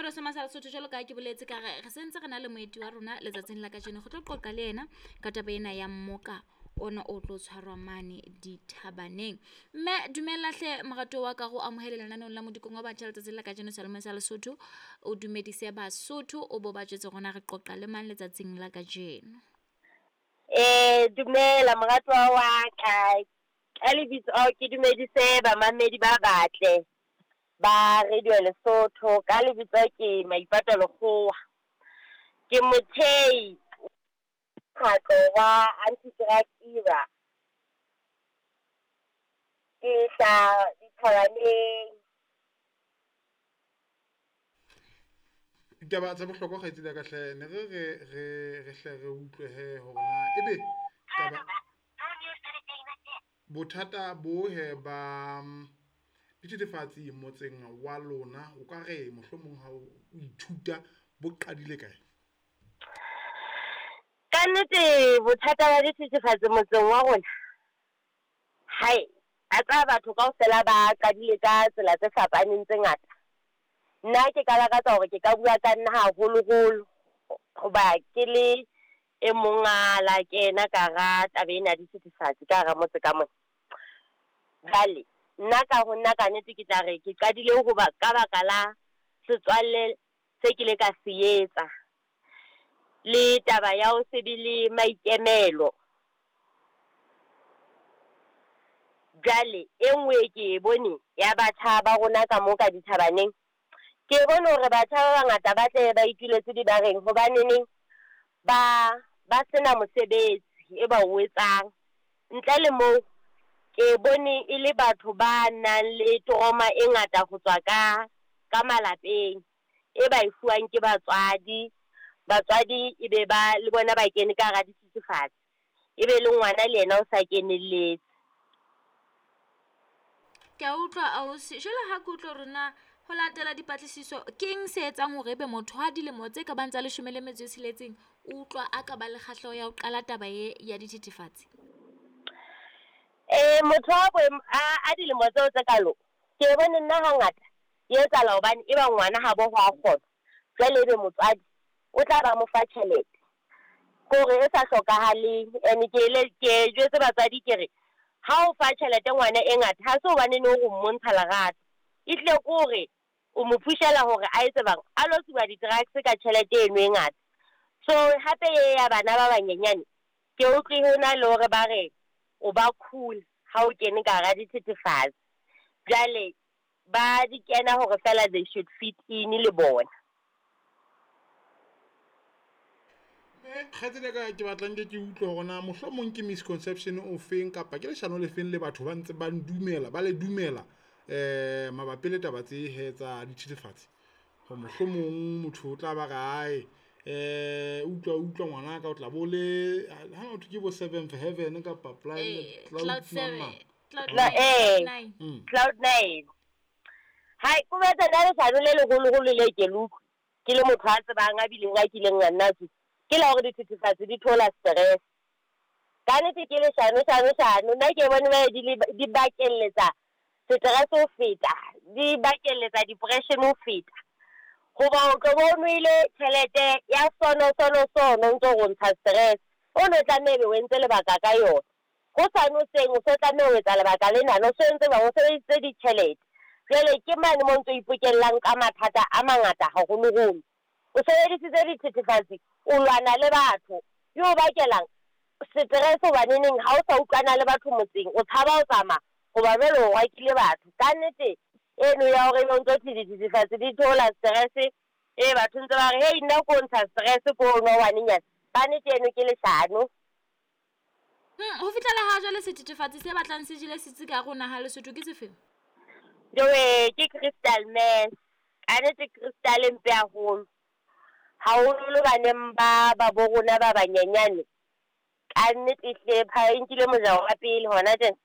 Radio Soma sa Lesotho jwalo ka ha ke boletse ka re re sentse re na le moeti wa rona letsatsing la kajeno go tlo qoqa le yena ka taba ena ya mmoka ona o tlo tshwarwa mane dithabaneng. Mme dumela hle morato wa ka go amohele lenaneong la modikong wa batjha letsatsing la kajeno seyalemoya sa Lesotho. O dumedise Basotho o bo ba jwetse rona re qoqa le mang letsatsing la kajeno. Dumela moratuwa wa ka, ka lebitso ke dumedise bamamedi ba batle ba Radio Lesotho. Ka lebitso ke Maipato Lekgowa. Ke mothehi mokgatlo wa Anti Drug Era. Ke hlaha dithabaneng. Ditaba tsa bohlokwa kgaitsedi ya ka hle ne re re re re hle re utlwe he hore na ebe taba bothata bo he ba dithethefatsi motseng wa lona o ka re mohlomong ha o ithuta bo qadile kae? Ka nnete bothata ba dithethefatsi motseng wa rona, hai a tseba batho kaofela ba qadile ka tsela tse fapaneng tse ngata. Nna ke ka lakatsa hore ke ka bua ka nna haholoholo hoba ke le e mong a la kena ka hara taba ena ya dithethefatsi ka hara motse ka mona. Jwale nna ka ho nna ka nnete ke tla re ke qadile hoba ka baka la setswalle se ke ile ka se etsa le taba ya ho se be le maikemelo. Jwale e nngwe e ke e bone ya batjha ba rona ka mo ka dithabaneng, ke bone hore batjha ba bangata ba tle ba ituletse dibareng hobaneneng ba ba sena mosebetsi e ba o etsang. Ntle le moo, ke bone e le batho ba nang le trauma e ngata ho tswa ka malapeng e ba e fuwang ke batswadi. Batswadi e be ba le bona ba kene ka hara dithethefatsi, e be le ngwana le yena o sa kenelletse. Ke a utlwa ausi, jwale ha ke utlwa hore na ho latela dipatlisiso ke eng se etsang hore ebe motho ha dilemo tse ka bang tsa 16 o utlwa a ka ba le kgahleho ya ho qala taba e ya dithethefatsi? Motho wa boemo a dilemo tseo tse kalo, ke bone nna hangata e etsahala hobane e ba ngwana habo ho a kgona. Jwale ebe motswadi o tla ba mo fa tjhelete kore e sa hlokahaleng. And ke le ke jwetse batswadi ke re ha o fa tjhelete ngwana e ngata ha se hobane ne o mmontsha lerato, e tlile ke hore o mo pushela hore a etse bang a lo tsuba di-drugs ka tjhelete eno e ngata. So hape e ya bana ba banyenyane ke utlwe ho na le hore ba re o ba cool ha o kene ka hara dithethefatsi. Jwale ba di kena hore fela they should fit in le bona. Kgaitsedi ya ka ke batla nke ke utlwe hore na mohlomong ke misconception o feng kapa ke leshano le feng le batho ba ntse ba ndumela ba le dumela mabapi le taba tse he tsa dithethefatsi. Hore mohlomong motho o tla ba re ae utlwa ngwana ka o tla bo le ha motho ke bo seventh heaven kapa planet Cloud cloud seven, cloud La nine, nine. Cloud nine. Hai, ko betsa nna leshano le leholoholo le ke le utlwe ke le motho a tsebang a bileng a kileng a nna tsuba, ke la hore dithethefatsi di theola stress. Ka nnete ke leshano shano shano. Nna ke bone ba di di bakelletsa stress ho feta, di bakelletsa depression ho feta. Hoba o tlo bo o nwele tjhelete ya sono sono sono o ntso o ntsha stress, o no tlameha ebe o entse lebaka ka yona. Hosane hoseng o so tlameha ho etsa lebaka lena, o so entse jwang, o sebedisitse ditjhelete. Jwale ke mane mo ntso ipokellang ka mathata a mangata haholoholo. O sebedisitse dithethefatsi, o lwana le batho, e o bakelang stress hobaneneng ha o sa utlwana le batho motseng, o tshaba ho tsamaya hoba jwale o rwakile batho. Ka nnete eno ya hore ebe o ntso thwe dithethefatsi di theola stress, e batho ntse ba re hei nna ko ntsha stress ko nwa ngwanenyana. Ka nnete eno ke leshano. Ho fihlela ha jwale sethethefatsi se batlang se jele setsi ka hare ho naha Lesotho ke sefeng? Jowe ke crystal meth. Ka nnete crystal e mpe haholo. Haholoholo baneng ba ba bo rona ba banyenyane. Ka nnete hle e nkile mojaro wa pele hona tjena.